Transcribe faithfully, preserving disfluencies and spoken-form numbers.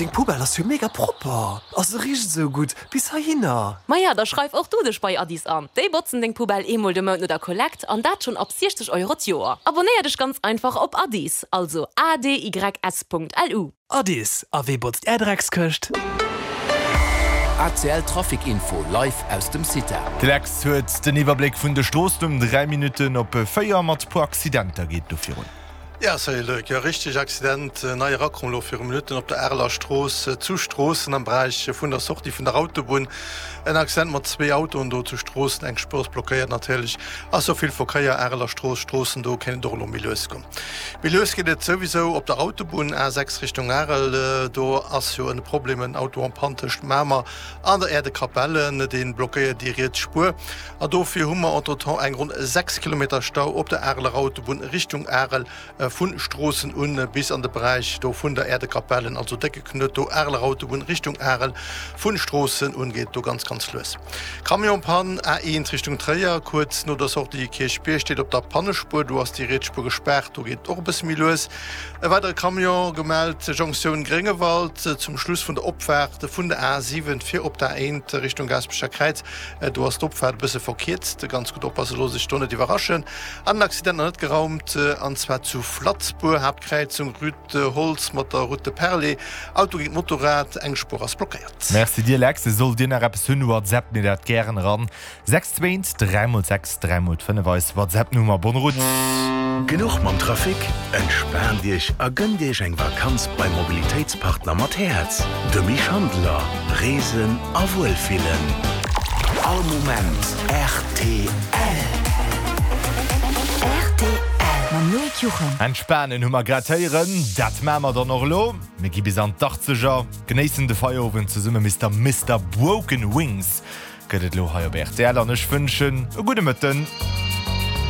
Deng Poubelle ass jo mega propper! A se richt esou gutt bis heihinner! Maja, da schreif och du dech bei Adys an. Déi botzen deng Poubelle eemol de Mount no der Kollekt an dat schonn ab siechzeg Euro d'Joer. Abonéier dech ganz einfach op Adys, also A D Y S Punkt L U. Adys, a wee botzt är Dreckskëscht? A C L Trafic Info live aus dem Cita. De Lex huet den Iwwerbléck vun de Stroossen um dräi Minutten op véier mat puer Accidenter geet do virun. Ja, salut Luc. Jo, richteg, Accident nei erakomm elo viru Minutten op der Areler Strooss zu Stroossen am Beräich vun der Sortie vun der Autobunn. En Accident mat zwee Autoen do zu Stroossen, eng Spuer ass blockéiert. Natierlech ass do vill Verkéier, Areler Strooss, Stroossen, do kéint et och elo méi lues goen. Méi lues geet et souwisou op der Autobunn A sechs Richtung Arel. Do ass jo en Problem, en Auto en panne tëscht Mamer an der Aire de Capellen, dee blockéiert déi riets Spuer an dofir hu mer entretemps eng ronn sechs Kilometer Stau op der Areler Autobunn Richtung Arel. Vu Stroossen un bis an de Beräich do vun der Aire de Capellen, also décke Knuet do, Areler Autobunn Richtung Arel, vu Stroossen un geet do ganz ganz lues. Camion-Pann, A eent Richtung Tréier, kuerz no der Sortie Kierchbierg, steet op der Pannespuer, do ass déi riets Spuer gespaart, do geet et och e bësse méi lues. E weidere Camion gemellt, Jonktioun Gréngewald, zum Schluss vun der Opfaart vun der A siwen fir op d'A eent Richtung Gaasperecher Kräiz, do ass d'Opfaart e bësse verkierzt, ganz gutt oppasse, looss sech do net iwwerraschen. An en Accident nach net geraumt, an zwar zu Platz-Buer, Haaptkräizung Rue de Holtz mat der Route de Perlé, Auto géint Motorrad, eng Spuer ass blockéiert. Merci dir Lex, sollt dir nach eppes hunn, WhatsApp mir dat gären eran, sechs zwee dräi mol sechs dräi mol fënnef eis WhatsApp Nummer. Bonne route. Genuch mam Trafic? Entspaant Iech a gënnt Iech eng Vakanz beim Mobilitéitspartner mat Häerz, dem Misch Handler. Reesen a Wuelfillen. All Moment rtl. Rtl mam Loïc Juchem. Entspanen hu mer grad héieren, dat maache mer dann och elo. Mir gi bis an d'Achtzeger, genéissen de Feierowend zesumme. Mister Mister Broken Wings gëtt et elo hei op rtl an ech wënschen e gudde Mëtten.